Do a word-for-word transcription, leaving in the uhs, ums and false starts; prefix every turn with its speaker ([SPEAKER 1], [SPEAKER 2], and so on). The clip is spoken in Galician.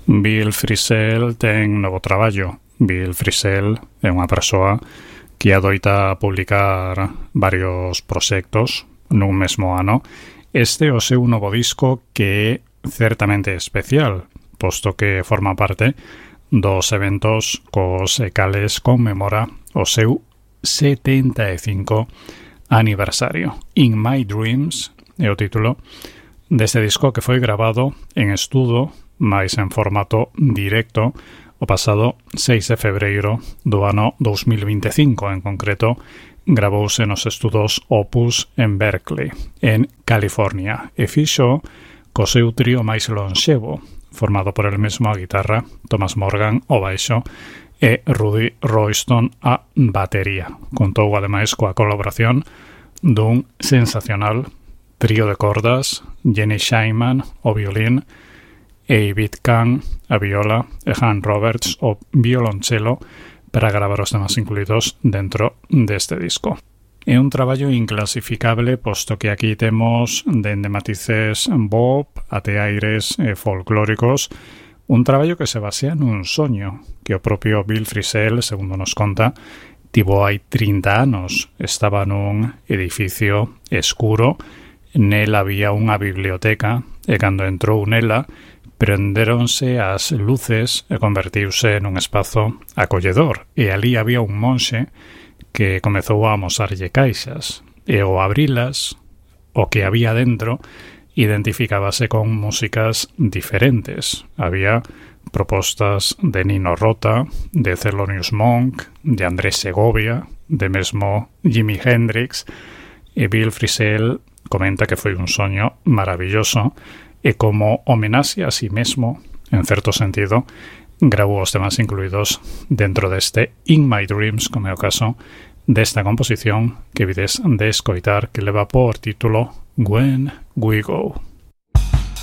[SPEAKER 1] Bill Frisell ten novo traballo. Bill Frisell é unha persoa que adoita publicar varios proxectos nun mesmo ano. Este é o seu novo disco, que é certamente especial, posto que forma parte dos eventos cos cales conmemora o seu setenta e cinco aniversario. In My Dreams é o título deste disco, que foi grabado en estudo, máis en formato directo, o pasado seis de febreiro do ano dos mil veinticinco. En concreto, gravouse nos estudos Opus en Berkeley, en California, e fixo co seu trío máis lonxevo, formado por el mesmo a guitarra, Thomas Morgan o baixo e Rudy Royston a batería. Contou ademais coa colaboración dun sensacional trío de cordas, Jenny Scheinman o violín, David Kahn a viola e Han Roberts o violonchelo, para gravar os temas incluídos dentro deste disco. É un traballo inclasificable, posto que aquí temos dende matices bop até aires eh, folclóricos, un traballo que se basea nun soño que o propio Bill Frisell, segundo nos conta, tivo hai trinta anos. Estaba nun edificio escuro, nela había unha biblioteca, e cando entrou nela, prendéronse as luces e convertiuse nun espazo acolledor, e ali había un monxe que comezou a amosarlle caixas, e ao abrilas, o que había dentro identificábase con músicas diferentes. Había propostas de Nino Rota, de Thelonious Monk, de Andrés Segovia, de mesmo Jimi Hendrix, e Bill Frisell comenta que foi un soño maravilloso, e como homenaxe a si mesmo, en certo sentido, grabou os temas incluídos dentro deste In My Dreams, como é o caso desta composición que vides de escoitar, que leva por título When We Go.